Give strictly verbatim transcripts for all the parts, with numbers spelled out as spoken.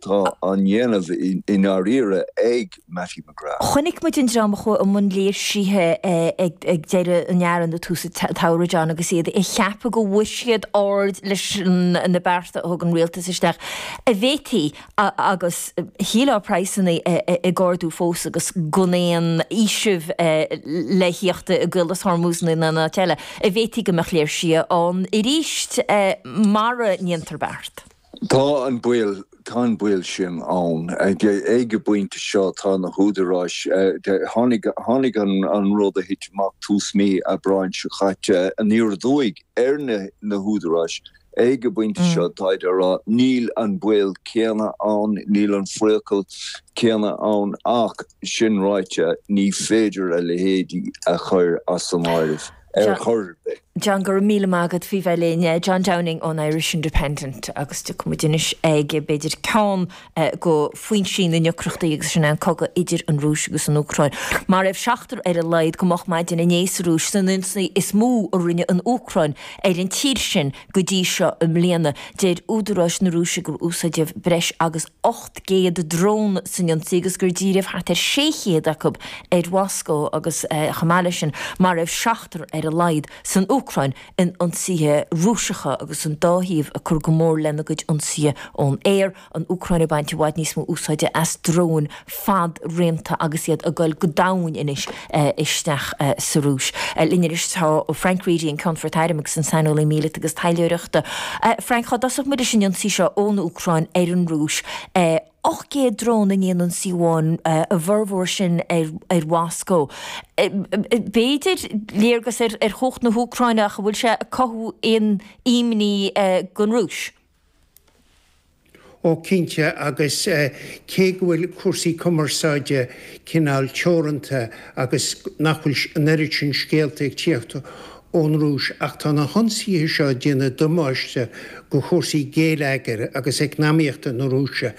atá á ndéanamh i ndáiríre ag Mattie McGrath. Chonaic muid an dream a chuaigh i mbun léirsithe ag deireadh an earraigh nó tús an tsamhraidh, John, agus iad ag ceapadh go bhfuair siad aird leis na bearta a thug an rialtas isteach. An bhféadfaí, agus shílfeá praghsanna ag ardú fós agus gan aon fhaoiseamh le theacht i gCaolas Hormuz nó in aon áit eile, an bhféadfaí go mbeadh léirsithe ann arís mara ndéantar beart? Tá an baol tá an baol sin ann. Ag an bpointe seo tá na húdaráis tháinig tháinig an an rud a thit amach tús mí Aibreáin seo caite aniar aduaidh ar na na húdaráis. Ag an bpointe seo táid á rá níl an baol céanna ann, níl an priacal céanna ann ach sin ráite ní féidir a leithéidí a chur as an áireamh ar chor ar bith. John, go raibh míle maith agat faoi bheith linn. John Downing ón Irish Independent agus tiocfaidh muid anois ag b'fhéidir ceann de foinsí na ndeacrachtaí agus sin é an cogadh idir an Rúis agus an Úcráin. Maraíodh seachtar ar a laghad go moch maidin inné sa Rúis san ionsaí is mó a rinne an Úcráin ar an tír sin go dtí seo i mbliana. Deir údaráis na Rúise gur úsáideadh breis agus ocht gcéad drón san ionsaí agus gur díríodh thart ar sé chéad acu ar Mhoscó agus chomh maith leis sin maraíodh seachtar ar a laghad san Úcráin in ionsaithe Rúiseacha agus an dá thaobh ag cur go mór lena gcuid ionsaithe ón aer, an Úcráin ag baint i bhfad níos mó úsáide as dróin fad-raonta agus iad ag dul go domhain anois isteach sa Rúis. Linn anois tá Frank Reidy, an Ceannfort Airm agus an saineolaí míleata agus taidhleoireachta. Frank, cá dtosódh muid leis an ionsaí seo ón Úcráin ar an Rúis? ocht gcéad drón in aon ionsaí amháin, a bhformhór sin ar Mhoscó. B'fhéidir léargas ar chumhacht na hÚcráine ach an bhfuil sé ag cothú aon imní don Rúis? Ó cinnte, agus cé go bhfuil cúrsaí cumarsáide cineál teoranta agus nach bhfuil an oiread sin scéalta ag tíocht ón Rúis, ach tá na hionsaithe seo ag déanamh damáiste go chúrsaí géilleagair agus eacnamaíochta na Rúise.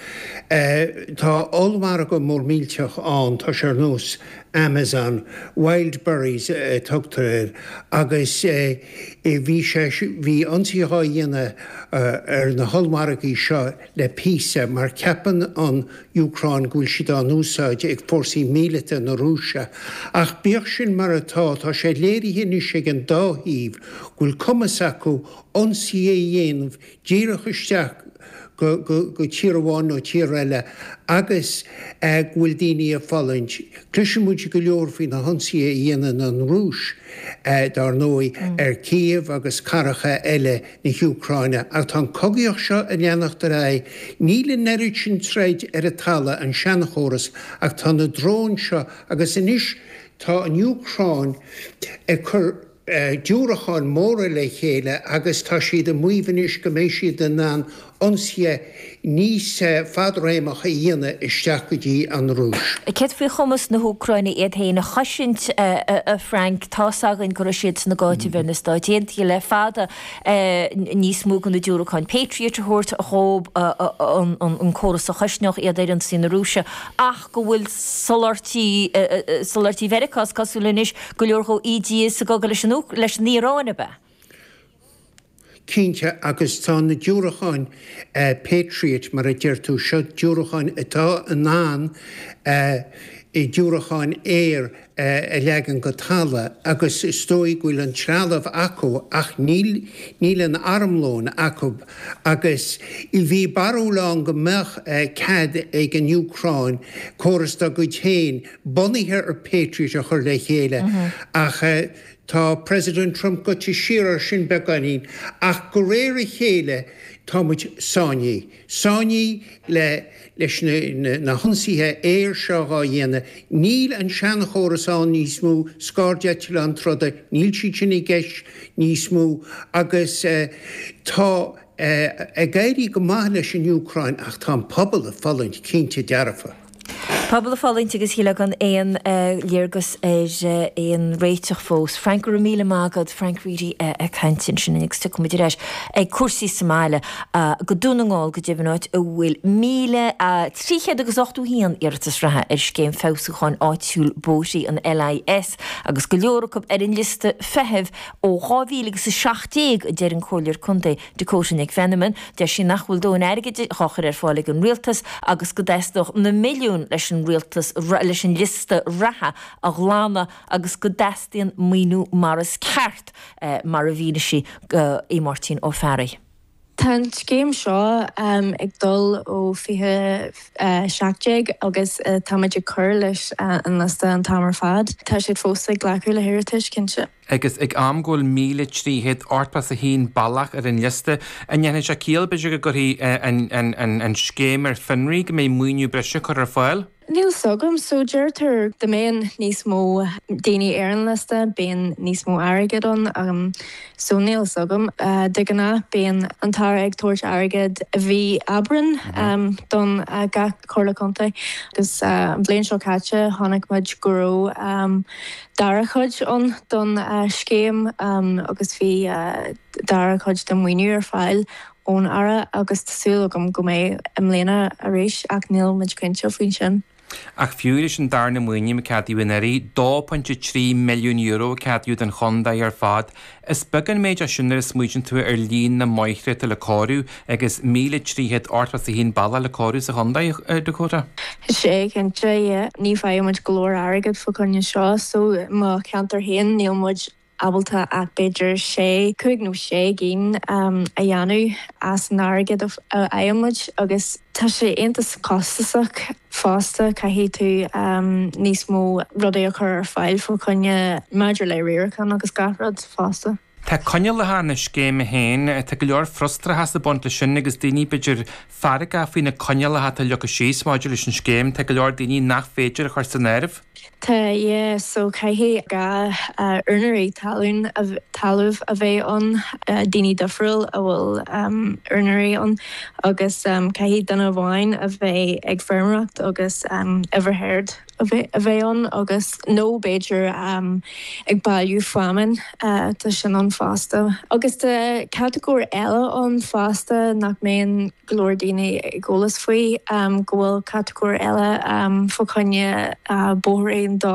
Tá ollmhargadh mór millteach ann, tá sé ar nós Amazon, Wildberries a tugtar air, agus bhí sé, bhí ionsaithe á dhéanamh ar na hollmhargaí seo le píosa mar ceapann an Úcráin go bhfuil siad á n-úsáid ag fórsaí míleata na Rúise. Ach bíodh sin mar atá, tá sé léirithe anois ag an dá thaobh go bhfuil cumas acu ionsaí a dhéanamh díreach isteach go go tír amháin nó tír eile agus go bhfuil daoine ag fulaingt. Cloiseann muid go leor faoi na hionsaithe a dhéanann an Rúis, dar ndóigh, ar Kiev agus cathracha eile na hÚcráine. Ach tá an cogaíocht seo ag leanacht ar aghaidh. Níl an oiread sin troid ar an talamh, an seanchóras, ach tá na dróin seo agus anois tá an Úcráin ag cur diúracáin móra le chéile agus tá siad ag maíomh anois go mbeidh siad in ann ionsaithe níos fadréimeach a dhéanamh isteach go dtí an Rúis. Céard faoi chumas na hÚcráine iad féin a chosaint, a Frank? Tá's againn go raibh siadsan ag áiteamh ar na Stáit Aontaithe le fada níos mó de na diúracáin Patriot a thabhairt dhóibh, an córas a chosnódh iad ar ionsaí na Rúise, ach go bhfuil soláthairtí, soláthairtí Mheiriceá, is cosúil anois, go leor dhó ídithe sa gcogadh leis an Iaráin, ab ea? Cinnte, agus tá na diúracáin Patriot, mar a deir tú, seo diúracáin atá in ann diúracáin aeir a leagan go talamh agus is dóigh go bhfuil an trealamh acu ach níl, níl an armlón acu agus bhí barúil ann go mbeadh cead ag an Úcráin córas dá gcuid féin bunaithe ar Patriot a chur le chéile ach Tá President Trump gaibhte siar ar sin beagáinín, ach de réir a chéile tá muid sáinnithe. Sáinnithe le leis na na hionsaithe aeir seo dhá dhéanamh. Níl an seanchóras ann níos mó, scairdeitleáin troda, níl siad sin i gceist níos mó agus tá ag éirí go maith leis an Úcráin ach tá an pobal ag fulaingt, cinnte dearfa. Pobal ag fulaingt agus níl againn aon léargas ar aon réiteach fós. Frank go raibh míle maith agat Frank Reidy ag caint ansin agus tiocfaimid ar ais ag cúrsaí sa mbaile go Dún na nGall go deimhin áit a bhfuil míle trí chéad agus ochtó haon iarratas reatha ar scéim feabhsúcháin áitiúil bóithre an LIS agus go leor acu ar an liosta feithimh ó dhá mhíle agus a seacht déag a deir an Comhairleoir Contae Dakota Nic Mheanman. Deir sí nach bhfuil dóthain airgid á chur ar fáil ag an rialtas agus go dteastódh na milliúin leis an rialtas leis an liosta reatha a ghlanadh agus go dteastaíonn maoiniú mar is ceart eh, mar a mhínigh sí go Máirtín Ó Fearraigh. Tá an scéim seo um, ag dul ó fiche seacht déag agus uh, táimid ag cur leis uh, an liosta an t-am ar fad. Tá siad fós ag glacadh le hiarratais cinnte. Agus ag am go bhfuil míle trí chéad ochtó a haon bealach ar an liosta an ndéanann sé ciall b'fhéidir go gcuirfí an scéim ar fionraí go mbeidh maoiniú breise curtha ar fáil? Níl a fhios agam so deirtear dá mbeadh níos mó daoine ar an liosta bíonn níos mó airgead ann um, so níl a fhios agam uh, de ghnáth bíonn an tAire ag tabhairt airgead i mí Aibreán um, don uh, gach comhairle contae agus uh, an bhliain seo caite chonaic muid go raibh um, dara chuid ann don uh, scéim um, agus bhí uh, dara chuid den mhaoiniú ar fáil ón Aire agus tá súil agam go mbeidh i mbliana arís ach níl muid cinnte faoin sin. Ach fiú leis an darna maoiniú a ceadaíodh anuraidh dó pointe trí milliún euro ceadaíodh don chontae ar fad. Is beag an méid é sin nuair a smaoiníonn tú ar líon na mbóithre atá le cóiriú agus míle trí chéad ochtó a haon bealach le cóiriú sa chontae Dakota. Sé cinnte ní fhaighimid go leor airgead fá choinne seo so mo cheantar féin níl muid ábalta ach b'fhéidir sé cúig nó sé gcinn um, a dhéanamh as an airgead a fhaighimid agus tá sé iontach costasach fosta caithfidh tú um, níos mó rudaí a chur ar fáil fá choinne maidir le riarachán agus gach rud fosta. Tá coinníollacha na scéime féin tá go leor frustrachas ag baint leis sin agus daoine b'fhéidir feargach faoi na coinníollacha atá leagtha síos maidir leis an scéim, tá go leor daoine nach féidir a chur san áireamh. Tá yeah, so caithfidh dhá uh, úinéirí talún talamh a bheith ann uh, daoine difriúil a bhfuil um, úinéirí ann agus um, caithfidh duine amháin a bheith ag feirmeoireacht agus um, uimhir herd a bheith ann agus nó b'fhéidir um, ag bailiú feamainn uh, tá sin ann fosta. Agus tá catagóir eile ann fosta nach mbíonn go leor daoine ag eolas faoi um, go bhfuil catagóir eile um, fá choinne uh, bóithrín do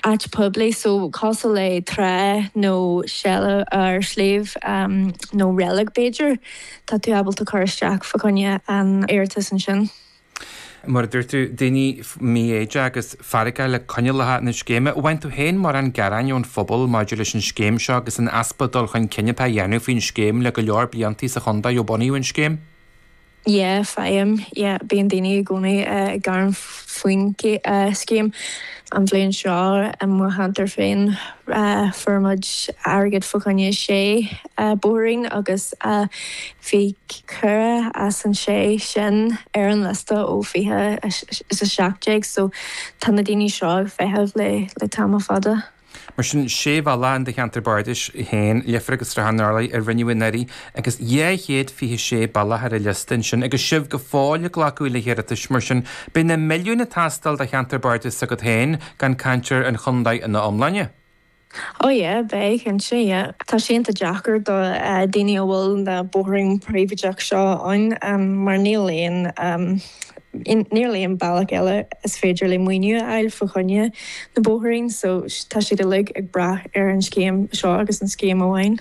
áit poiblí so cosúil le trá nó seile ar sliabh um, nó reilig b'fhéidir tá tú ábalta cur isteach fá choinne an iarratas ansin. Mar dúirt tú daoine míshásta agus feargach le coinníollacha na scéime, bhain tú féin mar an gearáin ón phobal maidir leis an scéim seo agus an easpa dul chun cinn atá á dhéanamh faoin scéim le go leor blianta sa chontae ó bunaíodh an scéim? Yeah, faighim yeah, bíonn daoine i gcónaí uh, ag gearán faoin uh, scéim an bhliain seo i mo cheantar féin uh, fuair muid airgead fá choinne sé uh, bóithrín agus uh, bhí ceithre as an sé sin ar an liosta ó fiche is a seacht déag so tá na daoine seo ag feitheamh le le tamall fada. Mar sin sé bhealach in do cheantar bardais féin Leifear agus Srath an Turlaigh a rinneadh anuraidh agus dhá chéad fiche sé bealach ar an liosta sin agus sibh go fóill ag glacadh le hiarratais mar sin beidh na milliúin ag teastáil do cheantar bardais s'agat féin gan caint ar an chontae ina iomláine. Ó yeah, beidh cinnte yeah. Tá sé an-deacair do uh, daoine a bhfuil na bóithrín príobháideach seo ann um, mar níl aon um, níl aon bealach eile is féidir le maoiniú a fháil fá choinne na bóithrín, so tá siad uilig ag brath ar an scéim seo agus an scéim amháin.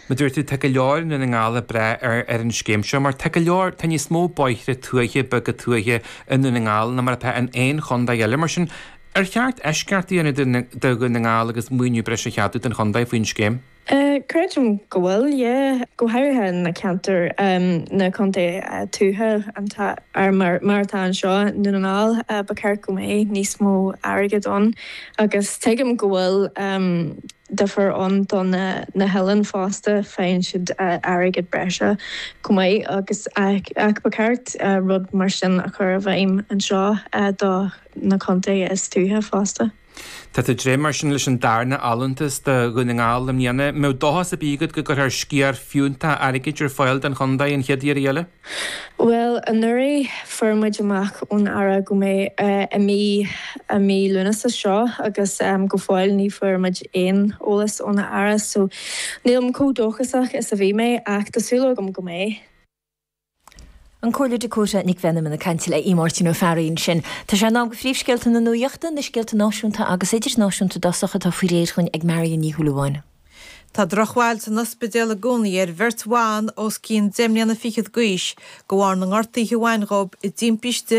Mar dúirt tú tá go leor i nDún na nGall ag brath ar ar an scéim seo, mar tá go leor tá níos mó bóithre tuaithe beaga tuaithe i nDún na nGall ná mar atá in aon chontae eile mar sin ar cheart eisceacht a dhéanamh do Dhún na nGall agus maoiniú breise a cheadú don chontae faoin scéim. Uh, Creidim go bhfuil yeah. go háirithe na ceantar um, na contae uh, tuaithe ar mar, mar atá anseo i nDún na nGall uh, ba cheart go mbeidh níos mó airgead ann agus tuigim go bhfuil um, difear ann don na, na hoileáin fosta faigheann siad uh, airgead breise chomh maith agus ach, ach ba cheart uh, rud mar sin a chur i bhfeidhm anseo uh, do na contae is tuaithe fosta. Tá tú ag dréim mar sin leis an darna allúntas do Dhún na nGall i mbliana. Mbeadh dóchas ar bith agat go gcuirfear sciar fiúntach airgid ar fáil don chontae an chéad iarraidh eile? Bhuel, anuraidh fuair muid amach ón Aire go mbeidh i mí i mí Lúnasa seo agus go fóill ní fuair muid aon eolas ón Aire so nílim chomh dóchasach is a bhí mé ach tá súil agam go mbeidh. An Comhairleoir Dakota Nic Mheanman ag caint le Máirtín Ó Fearraigh ansin. Tá sé in am do phríomhscéalta na nuachta, na scéalta náisiúnta agus idirnáisiúnta i dtosach atá faoi réir dhúinn ag Marion Ní Shúilleabháin. Tá drochbhail san ospidéal i gcónaí ar bheirt bhan os cionn deich mbliana fichead d'aois de bharr na ngortuithe a bhain dhóibh i dtimpiste